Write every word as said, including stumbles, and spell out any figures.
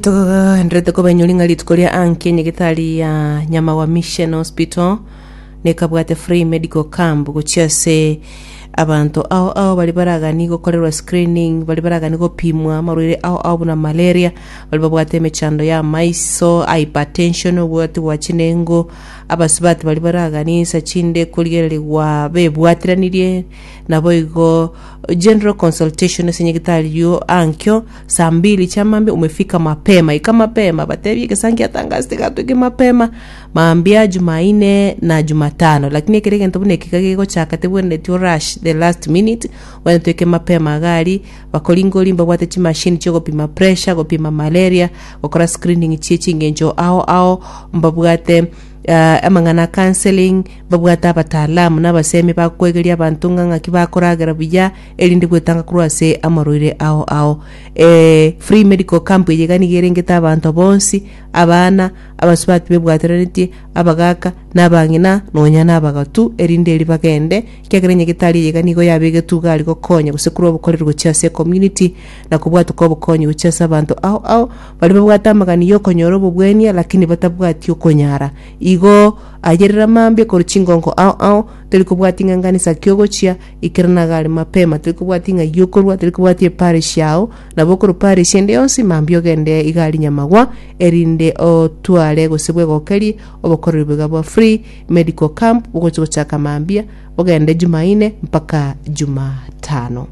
Togenderete kobainyoria ng'a rituko ria anki enyagetari ya Nyamawa Mission Hospital nekabwate free medical camp gochia ase abanto ao ao baria baragani gokorerwa screening baria baragani gopimwa amarwaire ao ao buna malaria baria babwate emechando ya amaiso hypertension obwati bwa chinengo abasubati baria baragani insa chinde korigererigwa bebwateranirie naboigo general consultation ase nyagetari yo ankio saa mbili chia mambia umefika mapema ika mapema batebie egesangi atangasete gatoike mapema mambia jumaine na jumatano lakini ekere egento buna eke iga gegochaka tebwenereti orush the last minute obwenerete oike mapema iga aria bakoringori mbabwate chimashini chiogopima pressure gopima malaria gokora screening chie chingencho ao ao mbabwate eh, amang'ana a counselling babwate abataalamu na abasemi bakoegeria abanto ng'a ng'aki bakoragera buya erinde gwetanga korwa ase amarwaire ao ao eh, free medical camp eye iga nigo erengete abanto bonsi abana abasubati bebwateranetie abagaka na abang'ina nonya na abagatu erinde eri bagende ekiagera enyagetari eye iga nigo yabegetwe iga aria gokonya gose korwa obokoreri gochia ase ecommunity na kobwatoka obokonyi gochia ase abanto ao ao baria babwate amagani ya okonyora obobwenia lakini batabwati okonyara igo ayerera mambia korwa chingongo ao ao tori kobwati ng'a nganisa ki ogochia ikerana iga aria mapema tori kobwati ng'ai okorwa tori kobwati eparish yao nabo okorwa parish ende yonsi mambia ogende iga aria nyamagwa erinde otware gose bwegokerie obokoreri bwega bwa free medical camp bogochi gochaka mambia bogende jumaine mpaka jumatano.